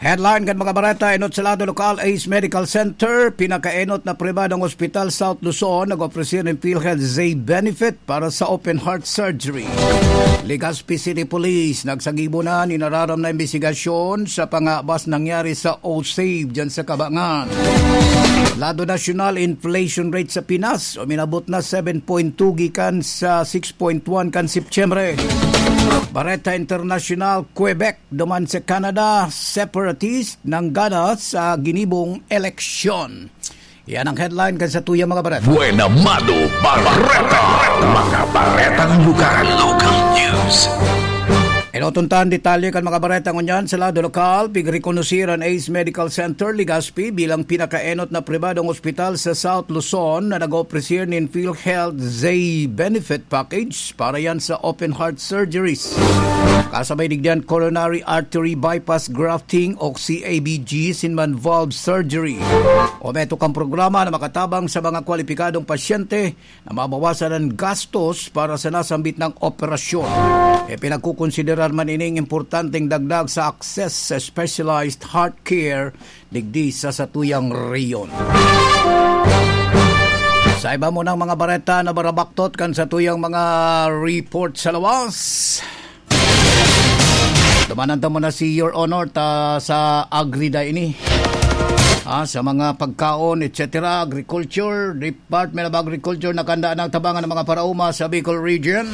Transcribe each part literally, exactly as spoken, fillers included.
Headline kan mga bareta, enot sa lado lokal, Ace Medical Center, pinakaenot na pribadong ospital South Luzon, nag-opresir nin PhilHealth Zay benefit para sa open heart surgery. Legazpi City Police, nagsagibo na nin nararam na imbestigasyon sa pangabas nangyari sa O-Save dyan sa Kabangan. Lado nasyonal, inflation rate sa Pinas, uminabot na seven point two gikan sa six point one kan Setyembre. Bareta Internasyonal, Quebec, duman sa Canada, separatist nanggana sa ginibong eleksyon. Yan ang headline kan satuyang mga bareta. Buena Mano Bareta. Mga baretang lokal. Local news. Enoton ta an detalye kan mga bareta ngunyan sa lado lokal. Pigrekonosir an Ace Medical Center, Legazpi, bilang pinakaenot na pribadong ospital sa South Luzon na nag-opresir nin PhilHealth Zay benefit package para yan sa open heart surgeries. Kasabay digdiyan, coronary artery bypass grafting o C A B G sin man valve surgery. O meto kang programa na makatabang sa mga kwalipikadong pasyente na mabawasan ang gastos para sa nasambit na operasyon. E pinagkukonsiderar man ining importanteng dagdag sa access sa specialized heart care digdi sa satuyang rehiyon. Sa iba mo ng mga bareta na barabaktot kan satuyang mga report sa lawas, dumanan ta muna si Your Honor ta sa Agrida ini. Ah, sa mga pagkaon, et cetera, agriculture, Department of Agriculture, nakahanda na ang tabangan ng mga paraoma sa Bicol Region.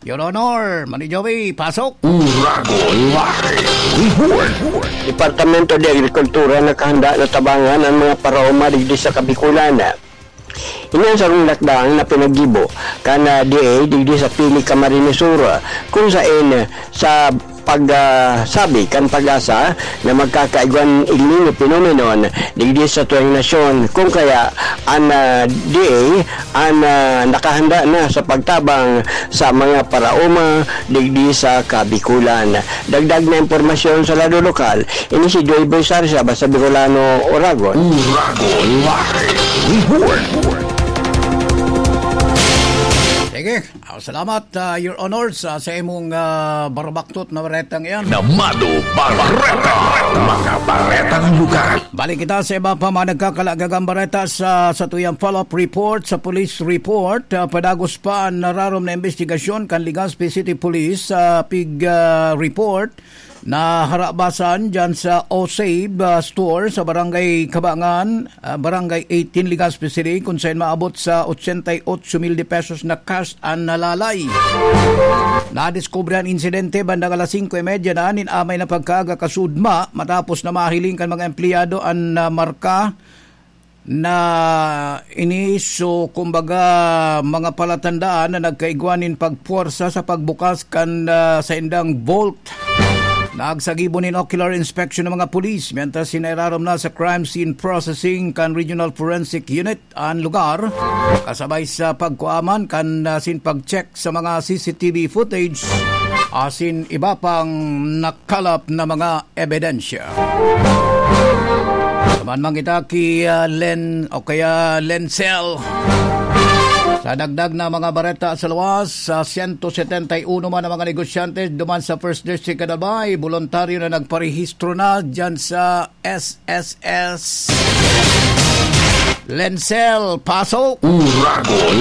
Your Honor, Mani Joey, pasok. Uragon Live Report. Departamento de Agrikultura nakahanda na tabangan ang mga paraoma digdi sa Kabikulan. Ini ang sarong lakdang na pinaggibo kan, ah, D A digdi sa Pili, Camarines Sur, kung saen sa pag, ah, sabi kan PAGASA na magkakaigwan El Niño phenomenon digdi sa tuyang nasyon, kung kaya an, ah, D A an, ah, nakahanda na sa pagtabang sa mga paraoma digdi sa Kabikulan. Dagdag na impormasyon sa lado lokal, ini si Joy Boy Sarsia, basta Bicolano, Oragon. Uragon Live Report. Sige, ah, salamat, ah, Your Honor, sa, sa imong, ah, barabaktot na baretang iyan. Namado Bareta, mga baretang lugar. Balik kita sa iba pa mga nagkakalagagang bareta sa, sa tuyang follow-up report, sa police report. Ah, padagos pa ang nararom na investigasyon kan Legazpi City Police sa pig, ah, report na harabasan dyan sa Osave, ah, store sa Barangay Kabangan, ah, Barangay eighteen, Legazpi City, kung saan maabot sa ochenta y ocho mil de pesos na cash an nalalay. Nadiskubre an insidente bandang alas singko y media na nin amay na pagkaaga kasudma, matapos na mahiling kan mga empleyado an, ah, marka na ini. So, kumbaga, mga palatandaan na nagkaigwa nin pagpuwersa sa pagbukas kan, ah, saindang vault. Nagsagibo nin ocular inspection ng mga pulis, mientras sinairarom na sa crime scene processing kan Regional Forensic Unit an lugar, kasabay sa pagkuaman kan, ah, sin pag-check sa mga C C T V footage asin iba pang nakalap na mga ebidensya. Naman man kita ki, ah, Len o kaya Lensel. Sa dagdag na mga bareta sa luwas, sa sento setenta y uno man ang mga negosyante duman sa First District kan Albay, voluntaryo na nagparehistro na dyan sa S S S. Lensel, pasok! Uragon